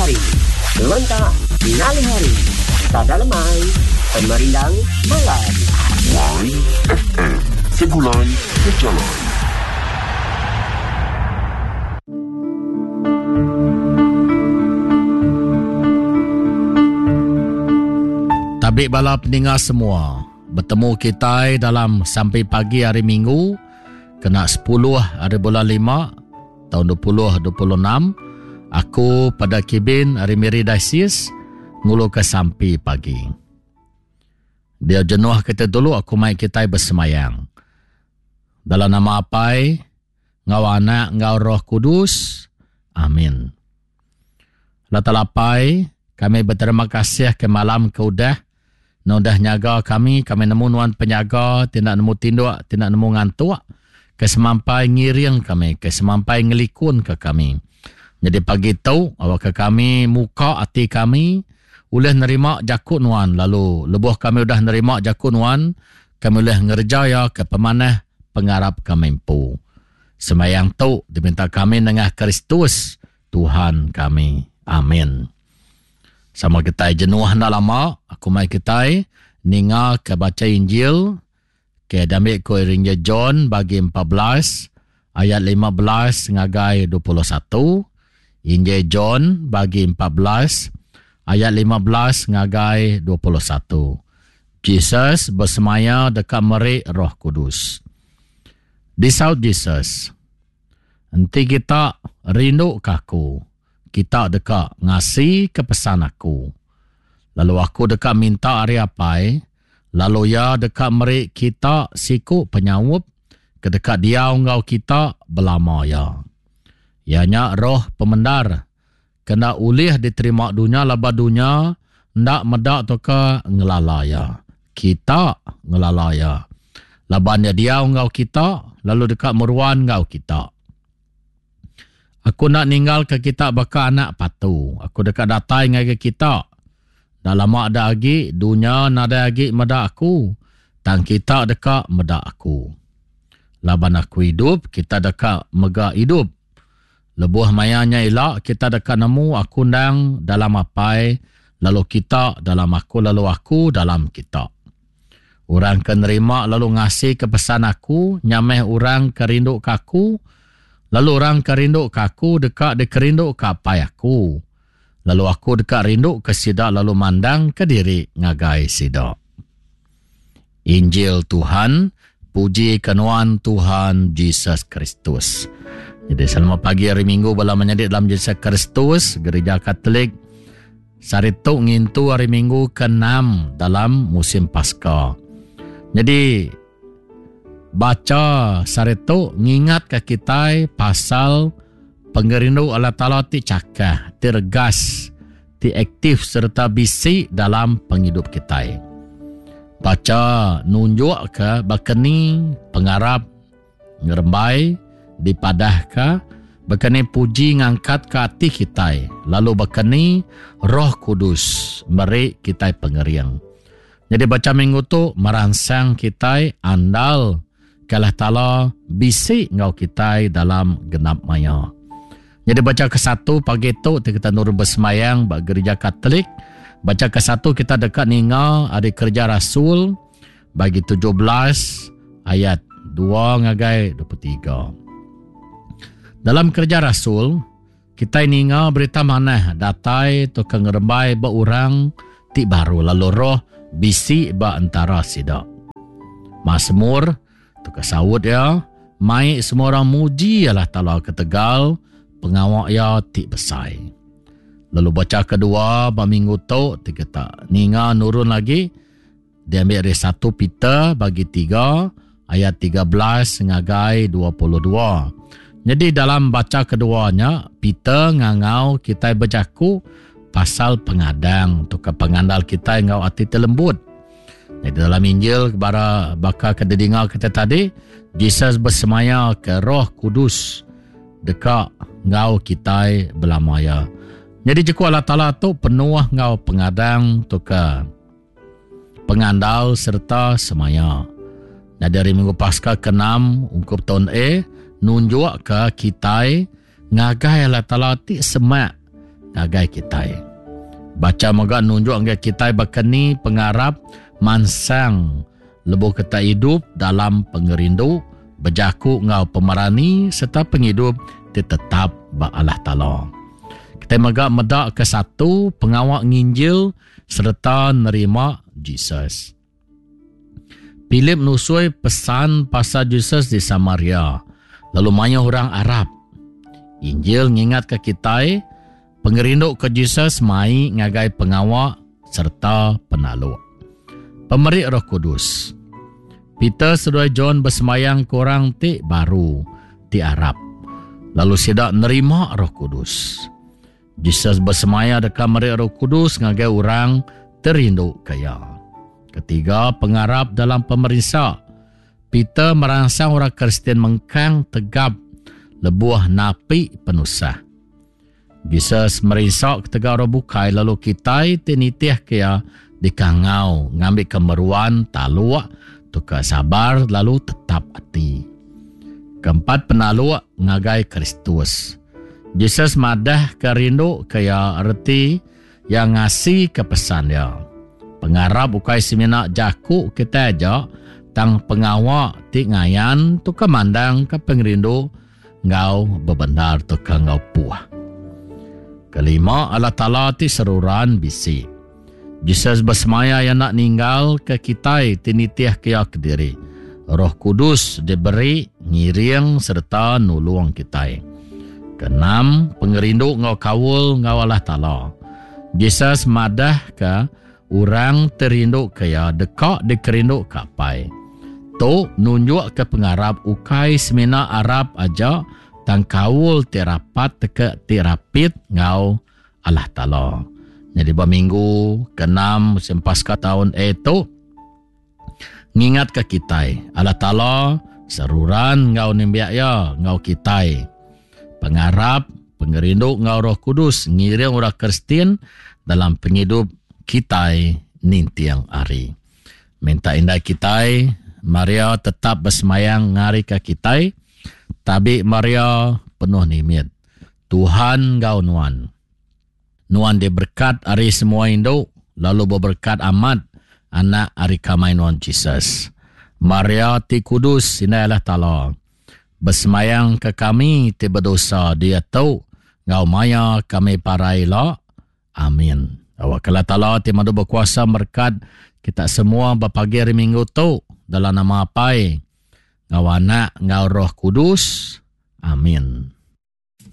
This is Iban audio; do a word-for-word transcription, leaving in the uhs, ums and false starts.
hari. Lentak ngalih hari. Sada lemai. Pemerindang malam. Y F M Segulai Sejalai. Tabik bala peninga semua. Bertemu kita dalam sampai pagi hari Minggu kena sepuluh hari bulan lima tahun dua ribu dua puluh enam. Aku pada Kibin hari Miri Diocese ngulu ke sampai pagi. Dia jenuh kita dulu aku mai kita bersemayang. Dalam nama Apai, ngau Anak, ngau Roh Kudus. Amin. Allah Taala Apai, kami berterima kasih ke malam ke udah. Nudah nyaga kami, kami nemu nuan penyaga, tidak nemu tinduk, tidak nemu ngantuk. Ke semampai ngiring kami, ke semampai ngelikun ke kami. Jadi pagi tu, awak ke kami muka hati kami, ulih nerima jakut nuan. Lalu lebuh kami udah nerima jakut nuan, kami ulih ngerjaya ke pemanah pengarap kami empu. Semayang tu diminta kami nengah Kristus, Tuhan kami. Amin. Sama kita jenuh dah lama, aku mai kita ninga ke baca Injil ke damik ko Injil John bagi empat belas ayat lima belas ngagai dua puluh satu. Injil John bagi empat belas ayat lima belas ngagai dua puluh satu. Jesus bersemaya dekat merik Roh Kudus. Disaut Jesus, enti kita rindu ke aku, kita deka ngasi ke pesan aku. Lalu aku deka minta ari Apai, lalu ia deka meri kita siku penyaup ke deka diau ngau kita belama ya. Ianya roh pemendar kena ulih diterima dunia laba dunia ndak medak toka ngelala ya. Kita ngelala ya. Laban dia diau ngau kita lalu deka meruan ngau kita. Aku nak ninggal ke kita baka anak patu. Aku dekat datai ngagai kita. Dah lama ada agi, dunia nadai agi medak aku. Tang kita dekat medak aku. Laban aku hidup, kita dekat mega hidup. Lebuh mayanya elak, kita dekat nemu aku ndang dalam apai, lalu kita dalam aku, lalu aku dalam kita. Orang ke nerima lalu ngasih ke pesan aku, nyameh orang ke rindu ke aku, lalu orang ke rindu ke aku dekat dikerindu ke apai aku. Lalu aku dekat rindu ke sida lalu mandang ke diri ngagai sida. Injil Tuhan, puji kenuan Tuhan Jesus Kristus. Jadi selamat pagi hari Minggu bala menyadik dalam Jesus Kristus, Gereja Katolik. Saritu ngintu hari Minggu keenam dalam musim Paskah. Jadi baca saritu ngingat ke kita pasal pengerindu Allah Taala ti cakah, ti regas, ti aktif serta bisi dalam penghidup kita. Baca nunjuk ke bakeni pengarap ngerembai dipadah ke bakeni puji ngangkat ke hati kita, lalu bakeni Roh Kudus meri kita pengeriang. Jadi baca minggu tu merangsang kita andal ke Allah Taala bisi ngau kita dalam genap maya. Jadi baca ke satu pagi tu kita nurun bersemayang ba gereja Katolik. Baca ke satu kita dekat ninga ada kerja Rasul bagi tujuh belas ayat dua ngagai dua puluh tiga. Dalam kerja Rasul kita ninga berita manah datai tu ke ngerembai ba orang ti baru lalu roh bisi ba antara sida. Mazmur tu ke saut ya, mai semua orang muji Allah Taala ketegal pengawak ya ti besai. Lalu baca kedua ba minggu tu ti kita ninga nurun lagi diambil dari satu Peter bagi tiga ayat tiga belas ngagai dua puluh dua. Jadi dalam baca keduanya Peter ngangau kita berjaku pasal pengadang tu ke pengandal kita ngau ati terlembut. Jadi dalam Injil bara bakal kedengar kita tadi Jesus bersemaya ke Roh Kudus dekat ngau kita belamaya. Jadi jeku Allah Taala tu penuh ngau pengadang tu ke pengandal serta semaya. Jadi hari Minggu Paskah keenam ungkup tahun A nunjuk ke kita ngagai Allah Taala ti semak ngagai kitai. Baca mega nunjuk ngagai kitai bakani pengarap mansang lebuh kita hidup dalam pengerindu, bejaku ngau pemerani serta penghidup ti tetap ba Allah Taala. Kita mega meda ke satu pengawa nginjil serta nerima Jesus. Philip nusui pesan pasal Jesus di Samaria, lalu mayuh orang Arab. Injil ngingat ke kitai, pengerindu ke Jesus mai ngagai pengawa serta penaluk. Pemeri Roh Kudus. Peter seduai John bersemayang ke orang ti baru ti Arab. Lalu sidak nerima Roh Kudus. Jesus bersemaya deka meri Roh Kudus ngagai orang terindu kaya. Ketiga, pengarap dalam pemerintah. Peter merangsang orang Kristian mengkang tegap lebuh napi penusah. Jesus merinsak ketegal orang bukai lalu kitai ti nitih kia dikangau ngambil kemeruan taluk tukar sabar lalu tetap hati. Keempat, penaluk ngagai Kristus. Jesus madah ke rindu kaya erti yang ngasi ke pesan dia. Pengarap ukai semina jaku kita aja tang pengawa ti ngayan tu ke mandang ke pengerindu ngau bebenar tu ke ngau puah. Kelima, Allah Ta'ala ti seruran bisi. Jesus bersemaya yang nak ninggal ke kitai ti nitih kia kediri. Roh Kudus diberi ngiring serta nulung kitai. Keenam, pengerindu ngau kaul ngau Allah Ta'ala. Jesus madah ke orang terindu ke ya dekak dikerindu kapai. Tu nunjuk ke pengarap ukai semina Arab aja tang kaul ti rapat teke ti rapit ngau Allah Ta'ala. Jadi berminggu keenam musim pasca tahun A tu ngingat ke kitai Allah Ta'ala seruran ngau nimbiak ya ngau kitai. Pengarap, pengerindu ngau Roh Kudus ngiring orang Kristian dalam penghidup kitai nintiang hari. Minta indai kitai Maria tetap bersemayang ngari ke kitai. Tabi Maria penuh nimit. Tuhan ngau nuan. Nuan diberkat hari semua induk, lalu berberkat amat anak hari kamai nuan Jesus. Maria ti kudus indai Allah Ta'ala. Bersemayang ke kami ti berdosa dia tu ngau maya kami parai la. Amin. Awak Allah Ta'ala ti madu berkuasa berkat kita semua berpagi hari Minggu tu dalam nama Apai, ngau anak, ngau Roh Kudus. Amin.